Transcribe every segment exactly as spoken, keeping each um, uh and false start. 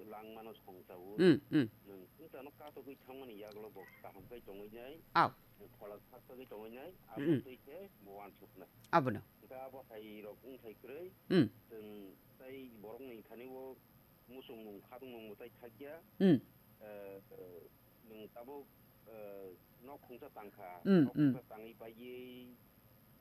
langmano songchawo. Hmm, hmm. Nwng swngcharno katogwi thangmani yagulo bo kaham khe tongwi nai. Aw. Phola saktogwi tongwi nai. Abo Hmm. twi khe bo wansuknai. Abono. Hwnkhe abo hai rok wngthai kwrwi. Hmm. Chwng tei borokni thani o muchung nung khatung nung mwtai thakya. Hmm. Eh, eh, nwng tabuk, eh, nok khungsa tangkha, Hmm, nok hmm. khungsa tangwi paiwi,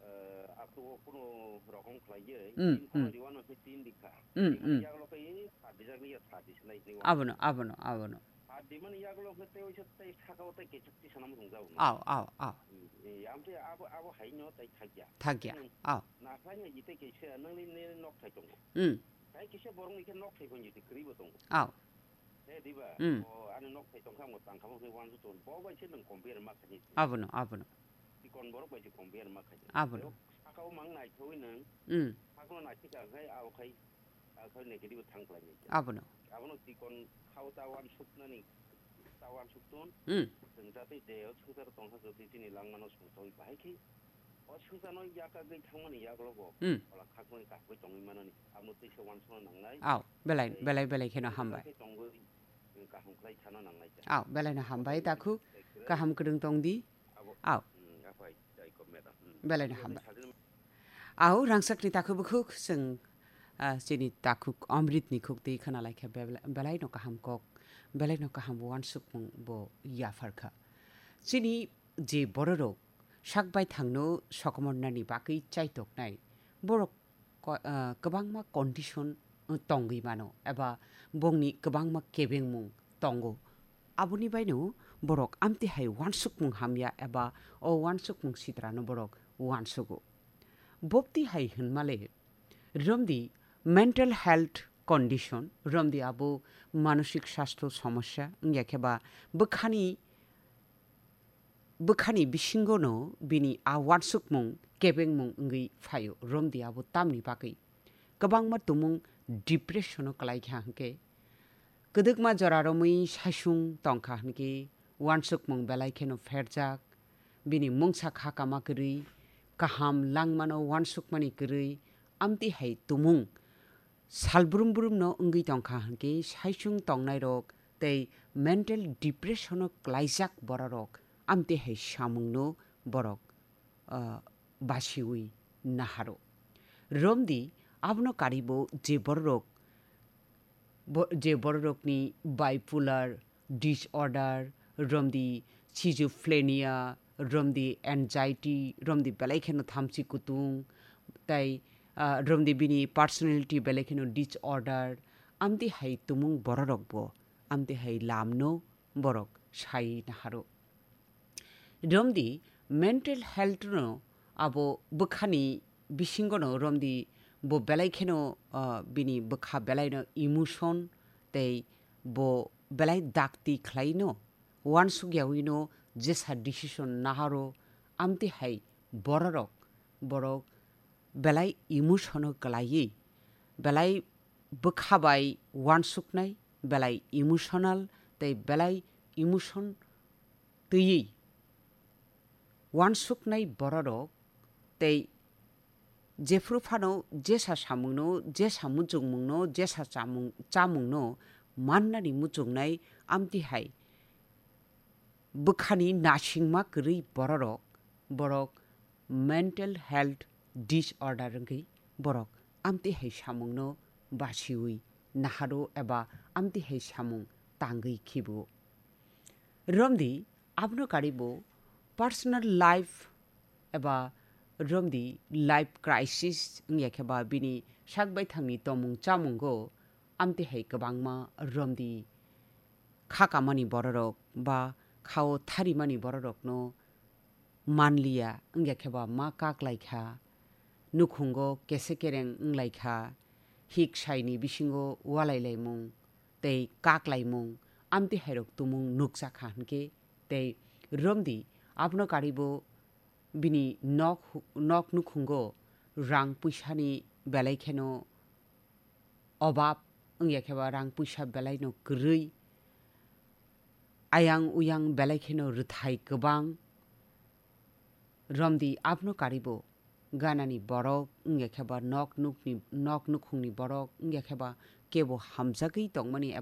eh, akhungo kunu rokom khlaiwi, Hmm, tin khoma hmm. riwano khe tin dikha. Hmm, Tin hmm. yagulo khe sa dijakni ya sa disinai hinwi. Abono, abono, abono. Sa dimani yagulo khe tei waisa tei sakao tei kechuk tisa namo rwngjago. Aw, aw, aw. Hmm, eh, amtwi abo, abo haino tei thakya. Thakya, Hmm. aw. Naphanya jitei kaisa nangni ne nok thai tongo. Hmm. Tei kisa borokni khe nok thai phai jitei kwrwi bo tongo. Aw. He diba? Hmm. O ani nok thai tongkha, mo tangkha, mo khe wansuk tongo. Bo bai se nwng compare ma khaidi. Abono, abono. Chikon borok bai se compare ma khaidi. Abono. Tei o sakao mang naithogwi nwng. Hmm. Sakno naithika khai, abo khai, abo khai negative thang khlai nai. Abono. Abono chikon khao ta wansuknani, ta wansuk ton. Hmm. Chwng jatwi je o swngcharo tongkha, jotwi chini langmano songchawi bahai khe. O swngcharno yakagwi thangmani yagulo bo Hmm. phola khakmani kaham khe tongwi manani. Abono tei se wansukna nangnai. Aw, belai, Tei belai, belai kheno tei hambai. Khe tongwi, eh, kaham khlai thana nangnai khe. Aw, belaino hambai, Tei takhuk. tei kwrwi. Kaham kwrwng tong di. Abo, Aw. Hmm, aphai, jai kok madam. Hmm. Belaino Tei hambai. sajwk Aw, rangchakni takhuk bukhuk chwng, ah, chini takhuk Amritni khuk twi khna lai khe bebla-, belaino kaham kok, belaino kaham wansukmung bo yaphar kha. Chini je bororok sak baithangno sokomornani bagwi chaitoknai, borok ko-, ah, kwbangma condition tongwi mano, eba bongni kwbangma kebengmung tongo. Aboni baino borok amtwi hai wansukmung hamya eba o wansukmung sitrano borok wansugo. Bopti hai hwnmale, romdi mental health condition, romdi abo manosik sastho somosya, wngya khe ba bwkhani, bwkhani bisingono bini a wansukmung kebengmung wngwi phaio, romdi abo tamni bagwi. Kwbangma tumung depression-o kwlai kha hwnkhe, kwdwkma jora romwi saisung tongkha hwnkhe, wansukmung belai kheno pherjak, bini mungsa kha kama kwrwi, kaham langmano wansukmani kwrwi, amtwi hai tumung salbrum brumno wngwi tongkha hwnkhe, saisung tongnairok tei mental depression-o kwlaijak bororok amtwi hai samungno borok, ah, basiwi naharo. Romdi abono karibo je bororok, bo-, je bororokni bipolar disorder, romdi schizophrenia, romdi anxiety, romdi belai kheno thamchi kutung, tai, ah, romdi bini personality belai kheno disorder, amtwi hai tumung bororokbo, amtwi hai lamno borok sai naharo. Romdi mental health no abo bwkhani bisingo no romdi bo belai kheno, ah, bini bwkha belai no emotion tei bo belai dakti khlai no wansuk yawi no jesa decision naharo amtwi hai bororok, borok belai emotion o kwlaiwi, belai bwkha bai wansuknai, belai emotional tei belai emotion twiwi wansuknai bororok tei jephru phano jesa samungno, jesa muchungmungno, jesa chamung, chamungno mannani muchungnai amtwi hai bwkhani nasingma kwrwi bororok, borok mental health disorder wngwi borok amtwi hai samungno basiwi naharo eba amtwi hai samung tangwi khibo. Romdi abono karibo personal life eba romdi life crisis wngya khe ba bini sak baithangni tomung chamungo amtwi hai kwbangma romdi kha kamani bororok ba khao tharimani bororokno manliya, wngya khe ba ma kaklaikha, nukhungo kese kereng wnglaikha, hik saini bisingo walailaimung tei kaklaimung, amtwi hairok tumung nukjakha hwnkhe, tei romdi abono karibo bini nok, nok nukhungo rang puisani belai kheno obab wngya khe ba rang puisa belai no kwrwi, ayang uyang belai kheno rwthai kwbang, romdi abono karibo ganani borok wngya khe ba nok nukni, nok nukhungni borok wngya khe ba kebo hamjagwi tongmani